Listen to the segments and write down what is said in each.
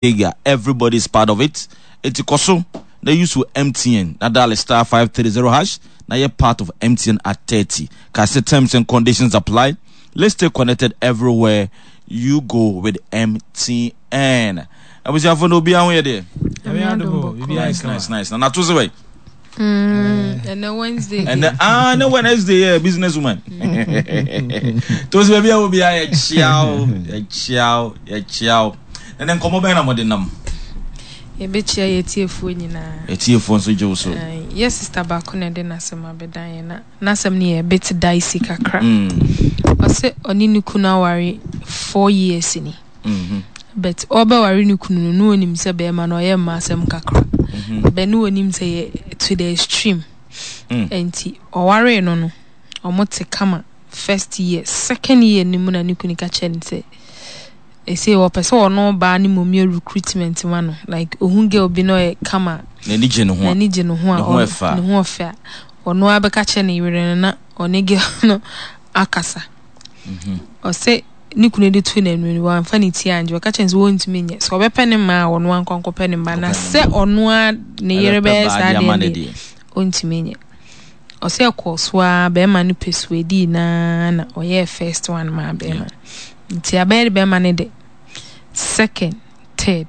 Ega everybody is part of it enti kɔ so na use wo MTN na dial star 530 hash na yɛ part of MTN at 30 ka sɛ terms and conditions apply. Let's stay connected everywhere you go with MTN. Abusuafo no obiara ho yɛ deɛ. Nice nice nice. Na nato se wɛ. Ɛnɛ Wednesday. Ɛnɛ ah ɛnɛ Wednesday yɛ business woman. To se baabi a obiara yɛ kyia o yɛ kyia o yɛ kyia o. Ɛnɛ nkɔmmɔ bɛn na mode nam? Yɛbɛkyia yɛn atiefoɔ nyinaa. Atiefoɔ nso gye wo so. Yɛ sista baako na ɛde n'asɛm abɛdan yɛn na n'asɛm no yɛ a bit dicey kakra. Ɔsɛ ɔne ne kunu aware 4 years ni. But ɔrebɛware ne kunu no, na ɔnim sɛ bɛrima no ɔyɛ mma asɛm kakra. But na ɔnim sɛ yɛ to the extreme. Nti ɔwaree no no, wɔte kama first year. Second year no mu na ne kunu ka kyerɛɛ no sɛ Ɛsei ɔpɛ sɛ ɔno baa no mmom yɛ recruitment ma no like ohun girl bi na ɔyɛ kama N'ani gye ne ho a. N'ani gye ne ho a Ne ho ɛfɛ a. Ne ho ɔfɛ a ɔno ara bɛka kyerɛ ne yere no na ɔne girl no akasa. Ɔsɛ ne kunu de to n'anim no wamfa ne ti angye, ɔka kyerɛ no sɛ wɔntumi nyɛ sɛ ɔbɛpɛ ne mma a ɔno ara nkɔ nkɔpɛ ne mma na sɛ ɔno ara ne yere Ɛbɛpɛ bɛyɛ baa saa de ama deɛ no deɛ deɛ. ɔntumi nyɛ. Ɔsɛ ɛkɔɔ so ara bɛrima no persuadee no ara na ɔyɛɛ first one maa bɛrima no. Nti abɛyɛ de bɛrima no de second, third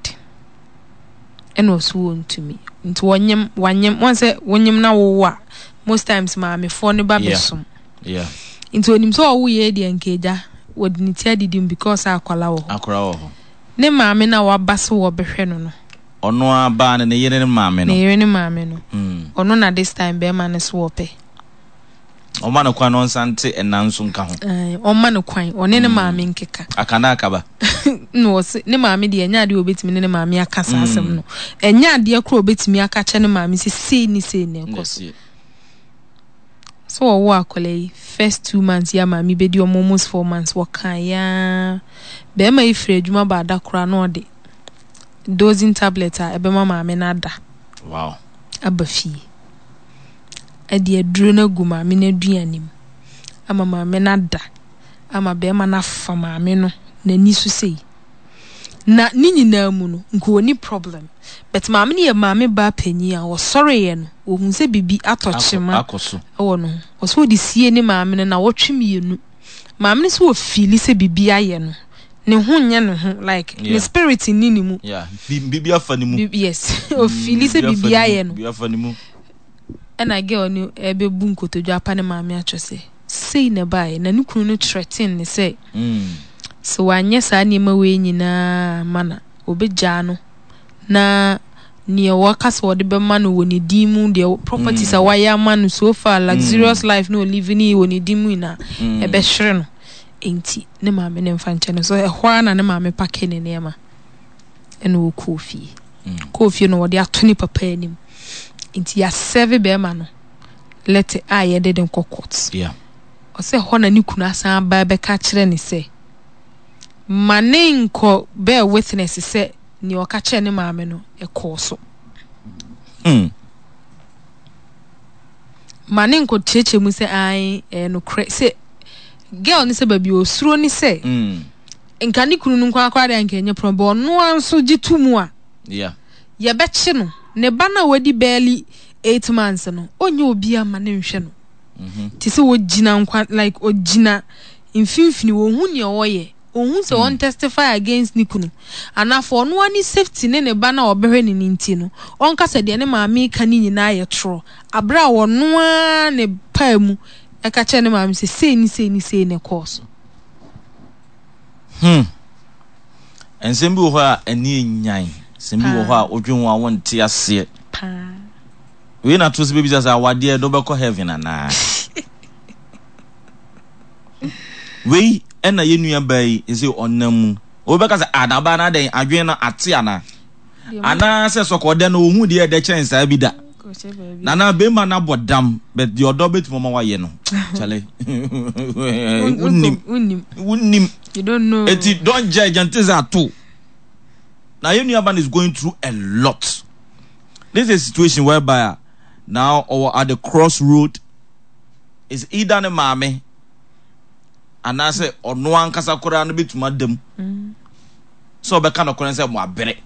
ɛna ɔso wɔntumi. Nti wɔnyem wanyem wɔn sɛ wonyem na wowo a most times maamefoɔ no ba bɛsom. Yeah. Nti onim sɛ ɔwo yɛ deɛ nka agya wɔde ne ti adidi mu because akwadaa wɔ hɔ. Akwadaa wɔ hɔ. Ne maame no a waba sɛ wɔbɛhwɛ no no. Ɔno ara baa no ne yere ne maame no. Ne yere ne maame no. Ɔno na this time bɛrima no so wɔpɛ. Ɔma no kwan na ɔnsan nte ɛna nso nka ho. Ae, ɔmma no kwan, ɔne ne maame nkeka. Aka na akaba. Na ɔse, ne maame deɛ ɛnyɛ adeɛ a ɔbɛtumi ne ne maame aka saa asɛm no. Ɛnyɛ adeɛ koraa a ɔbɛtumi aka akyerɛ ne maame sɛ sei ne sei na ɛkɔ so. Sɛ wɔwo akwadaa yi, first 2 months yi a maame bɛdi ɔmo almost 4 months, wɔkaeɛ ara. Bɛrima yi firi adwuma ba da koraa na ɔde dosing tablet a ɛbɛma maame no ada aba fie. De aduro no agu maame no aduane mu ama maame no ada ama barima no afa maame no n'ani so sei. Na ne nyinaa mu no, nka ɔnni problem. But maame no yɛ maame baa panyin a ɔsɔreeɛ no, ɔhuu sɛ biribi atɔ kyema wɔ ne ho. Ɔsɛ ɔde sie ne maame no nnawɔtwe mmienu. Maame no sɛ ɔfiili sɛ biribi ayɛ no. Ne ho nyɛ ne ho like ne spirit nni ne mu. Yeah, biribi afa ne mu. Yes, ɔfiili sɛ biribi ayɛ no. Biribi afa ne mu. Ɛna girl no ɛbɛbu nkotodwe apa ne maame akyerɛ sɛ sei na ɛbaeɛ na ne kunu no threaten ne sɛ sɛ wanyɛ saa nneɛma wei nyinaa amma no a, ɔbɛgyaa no na nea waka sɛ ɔde bɛma no wɔ ne din mu deɛ properties a wayɛ ama no so far luxurious life na ɔlive ne wɔ ne din mu nyinaa ɛbɛhwere no nti ne maame ne mfa nkyɛ no so ɛhɔ ara na ne maame pake ne nneɛma ɛna ɔkɔɔ fie. Kɔɔ fie no wɔde ato ne papa anim. Nti yɛasɛve bɛrima no lɛtɛ a yɛde de nkɔ court. Yeah. Ɔsɛ hɔ na ne kunu asan aba bɛka kyerɛ ne sɛ ma ne nkɔ bear witness sɛ nea ɔka kyerɛ ne maame no ɛkɔɔ so. Ma ne nkɔ kyerɛkyerɛ mu sɛ ae ɛyɛ nokorɛ sɛ girl ne sɛ baabi osuro ne sɛ nka ne kunu no nko ara koraa deɛ anka ɛnyɛ problem but ɔno ara nso gye to mu a Yeah. yɛbɛkye no. Ne ba no a wadi barely 8 months no, ɔnyɛ obiara ma ne nhwɛ no. Te sɛ ɔgyina nkwa like ɔgyina mfimfini, ɔnhu nea ɔyɛ. Ɔnhu sɛ ɔn testify against ne kunu anaa for ɔno ara ne safety ne ne ba no a ɔbɛhwɛ no no nti no, ɔnka sɛ deɛ ne maame reka no nyinaa yɛ torɔ. Aberɛ a ɔno ara ne paa mu ɛka kyerɛ ne maame sɛ sei ne sei ne sei na ɛkɔɔ so. Nsɛm bi wɔ hɔ a ani nyan. Nsɛm bi wɔ hɔ a wodwen ho a wonte aseɛ. Paa. Wei na to sɛ bɛbisa sɛ awadeɛ de wobɛkɔ heaven anaa? Wei ɛna yɛn nua baa yi sɛ ɔnam mu. Wobɛka sɛ ah na ɔbaa no adɛn adwene no ate anaa? Anaasɛ sɔkɔɔdɛ no ohun deɛ ɛdɛ kyɛn saa bi da. Nana bɛrima no abɔ dam but deɛ ɔdɔ bɛtumi ɔma wayɛ no. Kyale. Wonim. Wonim. You don't know. Eti don't judge until sɛ ato. Na yɛn nua ba no is going through a lot. This is a situation whereby a now ɔwɔ at the crossroad is either ne maame anaasɛ ɔno ankasa koraa no bɛtumi ada mu sɛ ɔbɛka nokorɛ sɛ mo abere.